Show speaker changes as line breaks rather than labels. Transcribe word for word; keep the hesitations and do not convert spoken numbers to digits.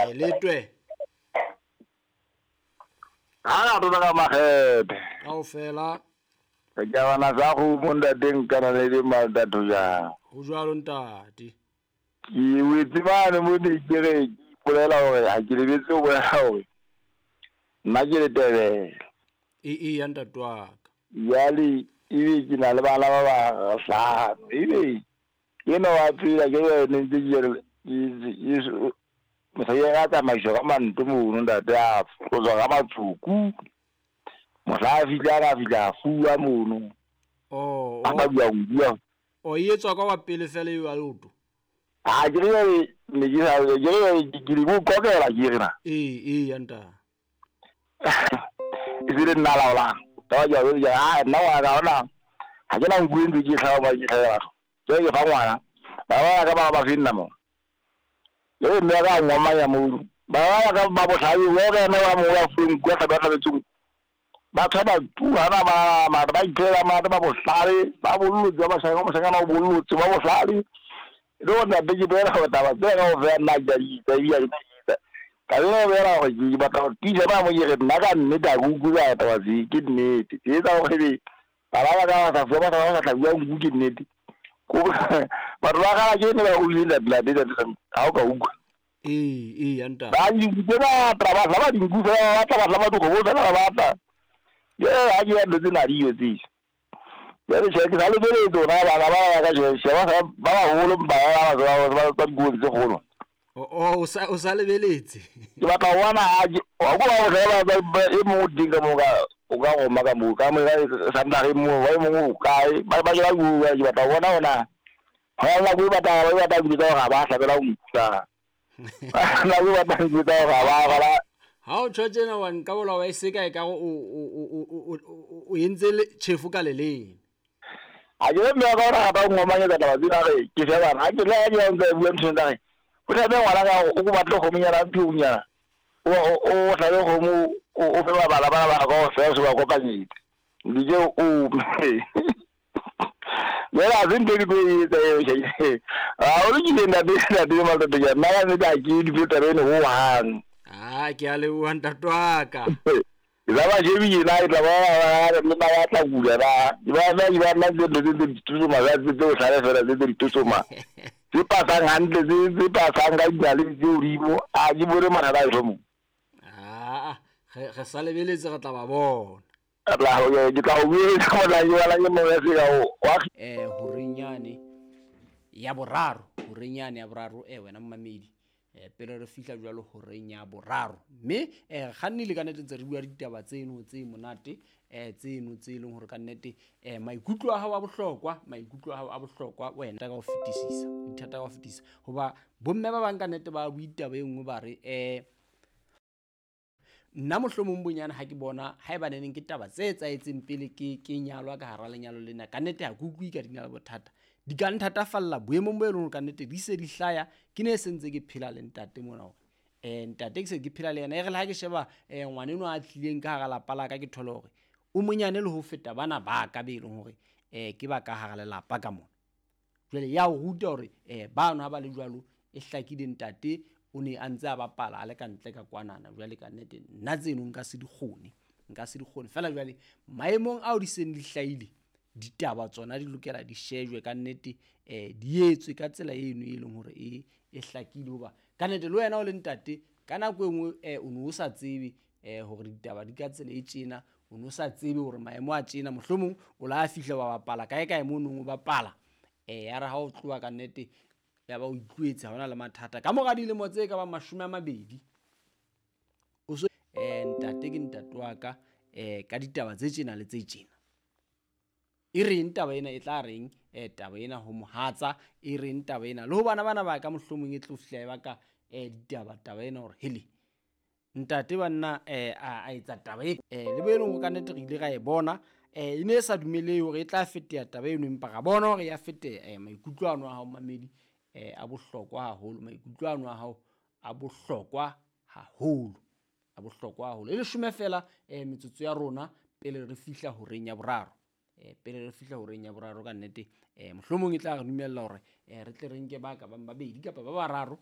Eh letwe.
Ha re ka makgethe.
Kaofela.
Ke bana sa go monda teng kana le di maldatho ja.
Ho jwalo ntate.
Ke wetse bana mo ne ke re polela hore ha ke lebetse ho bolela hore nna ke le Tebele.
E e ya ntate wa ka.
Jwale ebe ke na le bana ba bahlano. Ebe ke no wa phela ke ne ntse ke re mosadi a tsamaiswa ka manto mono ntate a tlotswa ka matsuku. Mohla a fihla a fihla a fuwa mono.
Oh,
a ba bua bua.
O e etswa ka wa pele fela eo a leoto.
Ha ke re ne ke sa ke re ke di go kokela ke re na.
E e ya ntate.
E se re nna laola. Ka ja ja ha nna wa ka ona. Ha ke na nku ntse ke tlhawa ba ke tlhawa. Ke ke fa ngwana. Ba ba ka ba ba finna mo. Le mme ka ngomanya mo. Ba ba ka ba botlhale o re na wa mo wa feng kwa ba ba tsung. Ba tshaba tu ha ba ba ba iphela ma ba botlhale ba bollotse ba shaka mo shaka na bollotse ba botlhale. Le ona be ke bela go taba tse ga o fe nna ja di tsa di di. Ka le bela go ke batla go tisa ba mo ke re nna ka nnete a go utlwa taba tse ke nnete. Ke tsa go re ba ba ka sa fa ba sa tla bua nku ke nnete. Ko ba ba ga ke ne ba o ile la la ha o ka utlwa.
E e ya ntate.
Ba di ba tra ba ba dinku fela ba tla ba ba go bo fela ba tla. Ye ha ke ya ntse na diyo tse. Ya re che ke sa le bele tsona ba ba ba ka che ba ba baholo ba ba ba ba ba go tse golo.
O o sa o sa lebeletse.
Ke batla ho bona ha o go ba ba ba e mo dinga mo ka o ka go maka mo ka mo ka sa re mo ba mo kae ba ba ke go ke batla bona ona. Ha la go batla ba batla go tsa ga ba hlabela o ntsa. La go batla go tsa ga ba ba
Ha o tjho tjena wa nka bola wa e seka e ka o o o o o entse le chefu ka leleng.
A ke mme ka ora ba ngomanya ka taba tsena re ke sheba ha ke le ya ntse bua ntho tsa re. O tla be ngwana ka o go batla go monyana mphiunyana. O o tla be go mo o fe ba bala ba ba go fe se ba kopanyetse. Dije o Yela zinte ke e tse a o ke nna be nna be ma tlo ya nna ne ka ke di bota bene ho hang.
Ah ke a leboha ntate wa ka.
Ke ba jebi na e tla ba ba le ba tla kula ba. Ba ba ba nna tse tse tse ditutsuma ba tse tse hlale fela tse tse ditutsuma. Tse pasang hantle tse tse pasang ka dinale tse hodimo a ke bone mathata a mo.
Ah re re sa lebeletse re tla ba bona.
Tla ho ke tla o bua ka mona ke bala ke mo ya se ka o
eh horenyane ya boraro horenyane ya boraro eh wena mmamedi eh pele re fihla jwalo horeng ya boraro mme eh kgannile ka nnete ntse re bua ditaba tseno tse monate eh tseno tse leng hore ka nnete eh maikutlo a hao a bohlokwa maikutlo a hao a bohlokwa wena ka ho fetisisa dithata ka ho fetisisa hoba bomme ba bang ka nnete ba bua ditaba e nngwe ba re eh nna mohlomong bonyane ha ke bona ha eba neneng ke taba tse etsaetseng pele ke ke nyalwa ka hara lenyalo lena ka nnete ha ke utlwe ka di na le bothata di ka nthatafalla boemong bo e leng hore ka nnete di se di hlaya ke ne se ntse ke phela le ntate mona hore eh ntate ke se ke phela le yena e re le ha ke sheba eh ngwana eno a tlileng ka hara lapa la ka ke thole hore o monyane le ho feta bana ba ka be leng hore eh ke ba ka hara lelapa ka mona jwale ya o ruta hore eh bano ha ba le jwalo e hlakile ntate o ne a ntse a bapala a le ka ntle ka kwanana jwale ka nnete nna tseno nka se di kgone nka se di kgone fela jwale maemong ao di seng di hlahile ditaba tsona di lokela di shejwe ka nnete eh di etswe ka tsela eno e leng hore e e hlakile hoba ka nnete le wena o le ntate ka nako e nngwe eh o ne o sa tsebe eh hore ditaba di ka tsela e tjena o ne o sa tsebe hore maemo a tjena mohlomong o la fihla wa bapala kae kae mo nong o bapala eh ya re ha o tloha ka nnete ya ba o itluetse ha ona le mathata ka mora dilemo tse ka ba mashome a mabedi o so eh ntate ke ntate wa ka eh ka ditaba tse tjena le tse tjena e reng taba ena e tla reng eh taba ena ho mohatsa e reng taba ena le ho bana bana ba ka mohlomong e tlo fihla e baka eh ditaba taba ena hore hele ntate banna eh a etsa taba e eh le bo e leng ka nnete re ile ra e bona eh e ne e sa dumelehe hore e tla feteha taba eno empa ra bona hore ya feteha eh maikutlo ano a hao mamedi eh a bohlokwa haholo maikutlo ano a hao a bohlokwa haholo a bohlokwa haholo e leshome fela eh metsotso ya rona pele re fihla horeng ya boraro eh pele re fihla horeng ya boraro ka nnete eh mohlomong e tla re dumella hore eh re tle re nke ba ka bang babedi kapa ba bararo